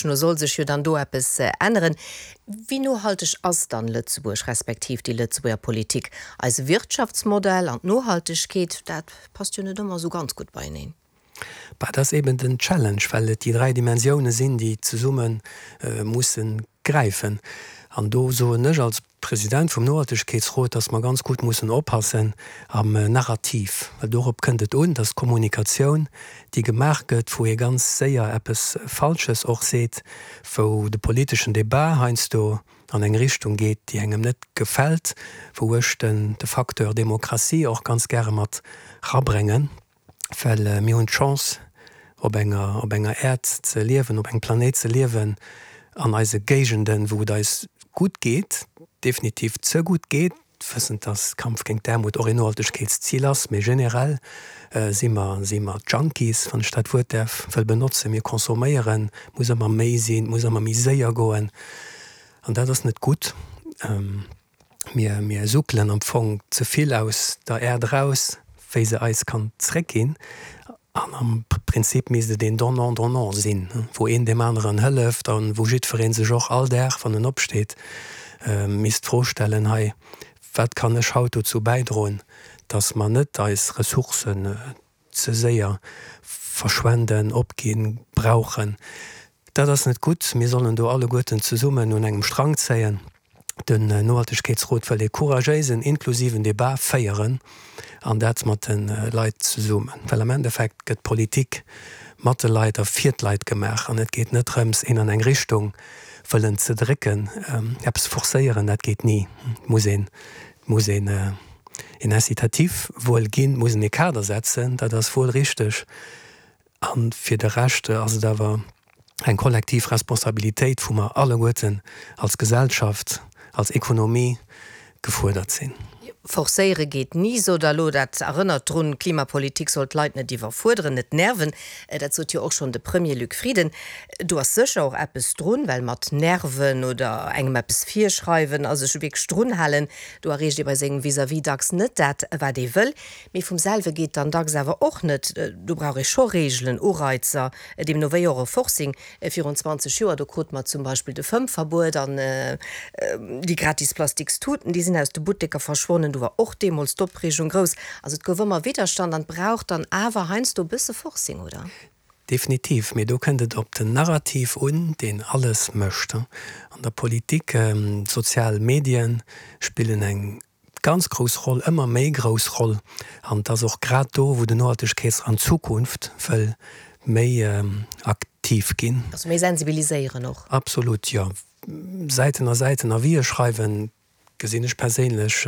No soll sech jo dann do eppes änneren. Wéi nohalteg ass dann Lëtzebuerg, respektiv déi Lëtzebuerger Politik? Eise Wirtschaftsmodell an d'Nohaltegkeet, dat passt jo net ëmmer esou ganz gutt beieneen. Bah, dat ass eben den Challenge, well et déi 3 Dimensioune sinn, déi zesumme musse gräifen. An do soen ech als President vum Nohaltegkeetsrot, dass mer ganz gutt mussen oppassen am Narrativ, well dorop kënnt et un, dass d'Kommunikatioun, déi gemaach gëtt, wou ee ganz séier eppes Falsches och seet, wou de politeschen Débat heiansdo an eng Richtung geet, déi engem net gefält, wou ech den de Facteur Demokratie och ganz gäre mat rabréngen. Well mir hunn d'Chance, op enger, op enger Äerd ze liewen, op engem Planéit ze liewen, an eise Géigenden, wou et eis gutt geet, definitiv ze gutt geet, wëssend, dass Kampf géint d'Aarmut och een Nohaltegkeetszil ass, mee generell si mer, si mer Junkies, wann ech dat Wuert däerf wëll benotzen. Mir consomméieren, et muss ëmmer méi sinn, et muss ëmmer méi séier goen, an dat ass net gutt. Mir, mir suckelen am Fong ze vill aus der Äerd eraus, wéi se eis kann zréckginn. An am Prinzip misst et een Donnant-donnant sinn, wou een deem aneren hëlleft a wou jiddweree sech och all Dag, wann en opsteet, misst d'Fro stellen, Hei, wat kann ech haut dozou bäidroen, dass mer net eis Ressourcen ze séier verschwenden, opginn, brauchen? Dat ass net gutt. Mir sollen do alleguerten zesummen un engem Strang zéien. Den Nohaltegkeetsrot wëll ee couragéisen, inklusiven Debat féieren, an dat mat de Leit zesummen. Well am Endeffekt gëtt Politik mat de Leit a fir d'Leit gemaach an et geet net drëms, een an eng Richtung wëllen ze drécken, eppes forcéieren, dat geet ni. Et muss een, et muss een een Incitatif wuel ginn, et muss een ee Kader setzen, dat ass wuel richteg. A fir de Rescht ass et awer eng kollektiv Responsabilitéit, wou mer alleguerten als Gesellschaft, als Ekonomie gefuerdert sinn. Forcéiere geet ni, sot Der elo. Dat erënnert drun, Klimapolitik soll d'Leit net iwwerfuerderen, net nerven. Dat sot jo och schonn de Premier Luc Frieden. Do ass sécher och eppes drun, well mat nerven oder engem eppes virschreiwen a sech wierklech drun halen, do erreecht ee bei sengem Vis-à-vis dacks net dat, wat ee wëll. Mee vum selwe geet dann dacks awer och net. Do brauch ee scho Reegelen, Ureizer, deemno wéi och e Forcing. Virun 20 Joer, do krute mer zum Beispill de Fëmmverbuet an déi gratis plastiks Tuten, déi sinn aus de Butteker verschwonnen. Do war och deemools d'Opreegung grouss. Also et gouf ëmmer Widderstand an et brauch dann awer heiansdo e bësse Forcing, oder? Definitiv, mee do kënnt et op den Narrativ un, deen alles mécht. An der Politik, d'sozial Medien spillen eng ganz grouss Roll, ëmmer méi grouss Roll, an et ass och grad do, wou den Nohaltegkeetsrot an Zukunft wëll méi aktiv ginn. Also méi sensibiliséieren och. Absolut, jo. Säiten a Säiten Avisë schreiwen, gesinn ech perséinlech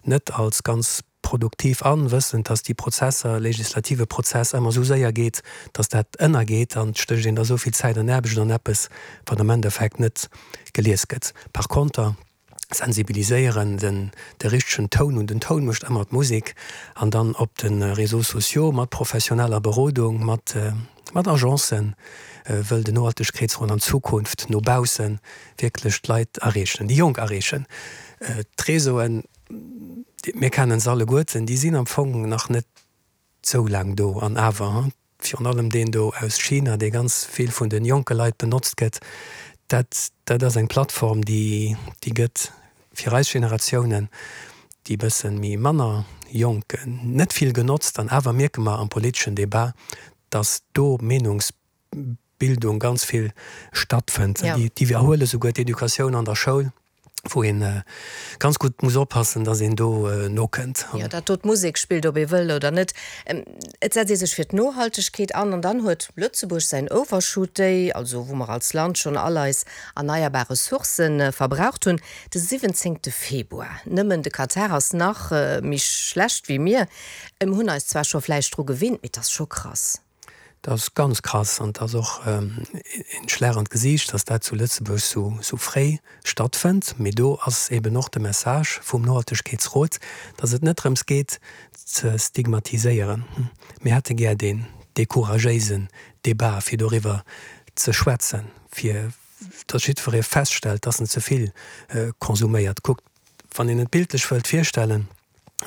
net als ganz produktiv an, wëssend, dass déi Prozesser, legislative Prozess ëmmer esou séier geet, dass dat ënnergeet an et stécht een da esou vill Zäit an Aarbecht an eppes, wat am Endeffekt net gelies gëtt. Par konter sensibiliséieren, den de richtegen Toun un, den Toun mécht ëmmer d'Musek, an dann op de Réseaux sociaux mat professioneller Berodung, mat mat Agencen wëll den Nohaltegkeetsrot an Zukunft no bausse wierklech d'Leit erreechen, déi Jonk erreechen. D'Réseauen, mir kennen se alleguerten, déi sinn am Fong nach net sou laang do an awer, virun allem deen do aus China, dee ganz vill vun de jonke Leit benotzt gëtt, dat dat ass eng Plattform, déi déi gëtt fir eis Generatiounen, déi bësse méi manner jonk, net vill genotzt. An awer mierke mer am politeschen Debat, datt do Meenungs Bildung ganz vill stattfënnt. Déi iwwerhuele souguer d'Educatioun an der Schoul, wou ee ganz gutt muss oppassen, datt een do nokënnt. Jo, datt do d'Musek spillt, ob ee wëll oder net. Et setzt ee sech fir d'Nohaltegkeet an an dann huet Lëtzebuerg säin Overshoot Day, also wou mer als Land schonn all eis erneierbar Ressourcë verbraucht hunn, de 17 Februar. Nëmmen de Katar ass nach méi schlecht wéi mir. Mir hunn eis zwar scho vläicht dru gewinnt, mee et ass scho krass. Dat ass ganz krass an et ass och een Schlag an d'Gesiicht, dass dat zu Lëtzebuerg sou fréi stattfënnt. Mee do ass eben och de Message vum Nohaltegkeetsrot, dass et net drëms geet ze stigmatiséieren. Mir hätte gär deen dee couragéisen Debat, fir doriwwer ze schwätzen, fir dass jiddweree feststellt, dass en ze vill konsuméiert. Kuckt, wann een et bildlech wëllt virstellen,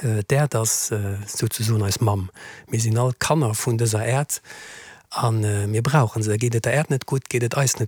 D'Äerd ass souzesoen eis Mamm. Mir sinn all Kanner vun dëser Äerd. A mir brauche se. Geet et der Äerd net gutt, geet et eis net.